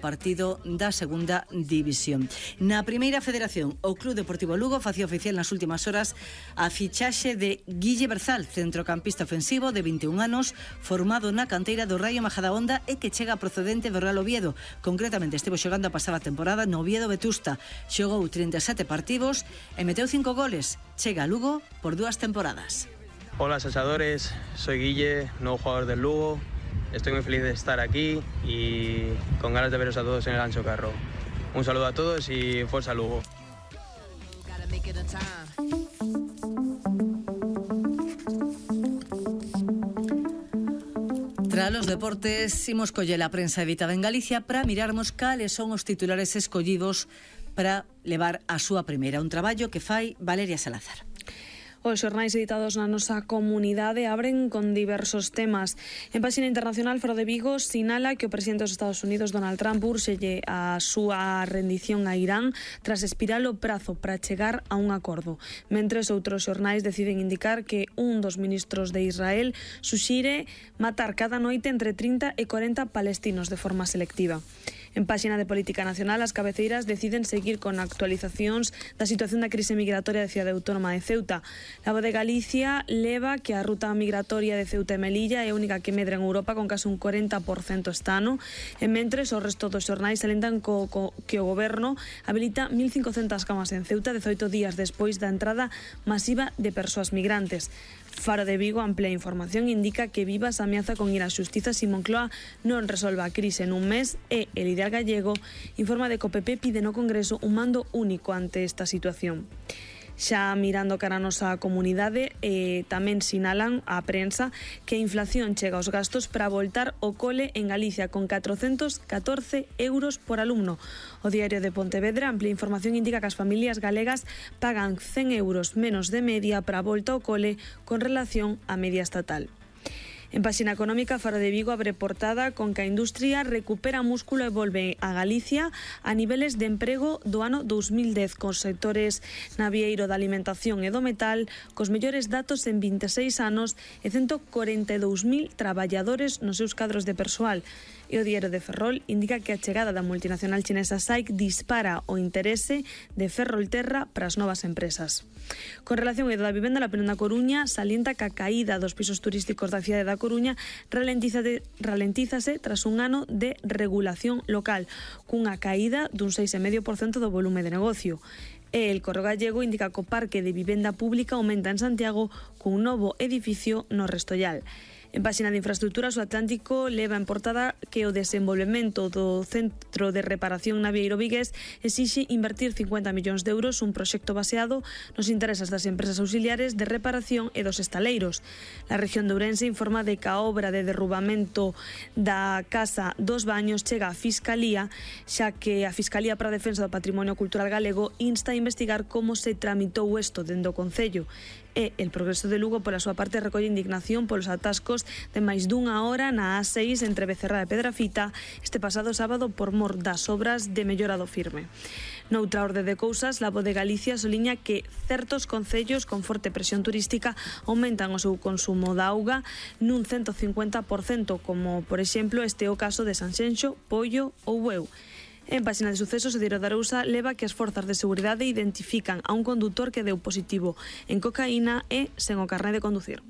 partido da segunda división. Na primeira federación, o Club Deportivo Lugo facía oficial nas últimas horas a fichaxe de Guille Berzal, centrocampista ofensivo de 21 anos, formado na canteira do Raio Majadahonda e que chega procedente do Real Oviedo. Concretamente estivo xogando a pasada temporada no Oviedo Vetusta. Xogou 37 partidos e meteu 5 goles. Chega a Lugo por 2 temporadas. Hola asadores, soy Guille, nuevo jugador del Lugo. Estoy muy feliz de estar aquí y con ganas de veros a todos en el Ancho Carro. Un saludo a todos y fuerza Lugo. Tras los deportes, imos coller a prensa editada en Galicia para mirarmos cales son os titulares escollidos para levar a súa primeira, un traballo que fai Valeria Salazar. Os xornais editados na nosa comunidade abren con diversos temas. En páxina internacional, Faro de Vigo sinala que o presidente dos Estados Unidos, Donald Trump, úrselle a súa rendición a Irán tras expirar o prazo para chegar a un acordo. Mentres outros xornais deciden indicar que un dos ministros de Israel suxire matar cada noite entre 30 e 40 palestinos de forma selectiva. En páxina de Política Nacional, as cabeceiras deciden seguir con actualizacións da situación da crise migratoria da cidade autónoma de Ceuta. La Voz de Galicia leva que a ruta migratoria de Ceuta e Melilla é a única que medra en Europa con case un 40% este ano, e mentres o resto dos xornais salentan que o goberno habilita 1.500 camas en Ceuta 18 días despois da entrada masiva de persoas migrantes. Faro de Vigo amplía a información, indica que Vivas ameaza con ir á xustiza se Moncloa non resolva a crise nun mes e el líder gallego informa de que o PP pide no Congreso un mando único ante esta situación. Xa mirando cara a nosa comunidade, tamén sinalan a prensa que a inflación chega aos gastos para voltar o cole en Galicia con 414 euros por alumno. O Diario de Pontevedra amplia información, indica que as familias galegas pagan 100 euros menos de media para a volta ao cole con relación á media estatal. En páxina económica, Faro de Vigo abre portada con que a industria recupera músculo e volve a Galicia a niveles de emprego do ano 2010, cos sectores navieiro, da alimentación e do metal, cos mellores datos en 26 anos e 142.000 traballadores nos seus cadros de persoal. E o Diario de Ferrol indica que a chegada da multinacional chinesa SAIC dispara o interese de Ferrolterra para as novas empresas. Con relación ao eido da vivenda, la Plena da Coruña salienta que a caída dos pisos turísticos da cidade da Coruña ralentízase tras un ano de regulación local, cunha caída dun 6,5% do volume de negocio. E el Correo Gallego indica que o parque de vivenda pública aumenta en Santiago cun novo edificio no Restollal. En páxina de infraestructuras, o Atlántico leva en portada que o desenvolvemento do Centro de Reparación Navieiro Vigués exixe invertir 50 millóns de euros, un proxecto baseado nos intereses das empresas auxiliares de reparación e dos estaleiros. La región de Ourense informa de que a obra de derrubamento da Casa dos Baños chega á Fiscalía, xa que a Fiscalía para a Defensa do Patrimonio Cultural Galego insta a investigar como se tramitou isto dende o Concello. E el Progreso de Lugo, pola súa parte, recolle indignación polos atascos de máis dunha hora na A6 entre Becerra e Pedrafita este pasado sábado por mor das obras de mellora do firme. Noutra orde de cousas, la Voz de Galicia soliña que certos concellos con forte presión turística aumentan o seu consumo de auga nun 150%, como, por exemplo, este é o caso de Sanxenxo, Pollo ou Bueu. En páxina de sucesos, o Diario de Arousa leva que as forzas de seguridade identifican a un condutor que deu positivo en cocaína e sen o carné de conducir.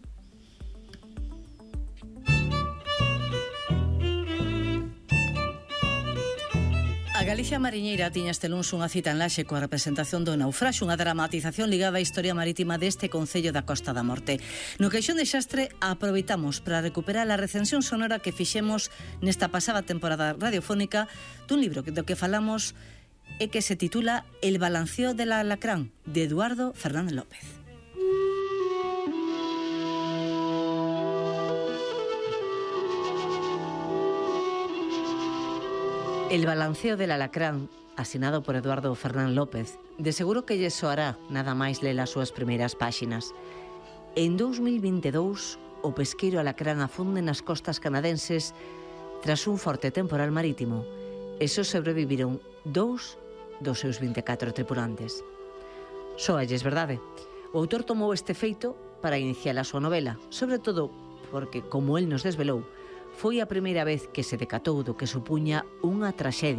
A Galicia Mariñeira tiña este luns unha cita en Laxe coa representación do naufraxo, unha dramatización ligada á historia marítima deste concello da Costa da Morte. No Caixón de Xastre aproveitamos para recuperar a recensión sonora que fixemos nesta pasada temporada radiofónica dun libro do que falamos e que se titula El balanceo del alacrán, de Eduardo Fernández López. El balanceo del alacrán, asinado por Eduardo Fernández López, de seguro que lle soará nada máis ler as súas primeiras páxinas. En 2022, o pesqueiro alacrán afunde nas costas canadenses tras un forte temporal marítimo e só sobreviviron 2 dos seus 24 tripulantes. Soalles verdade. O autor tomou este feito para iniciar a súa novela, sobre todo porque, como el nos desvelou, foi a primeira vez que se decatou do que supuña unha traxedia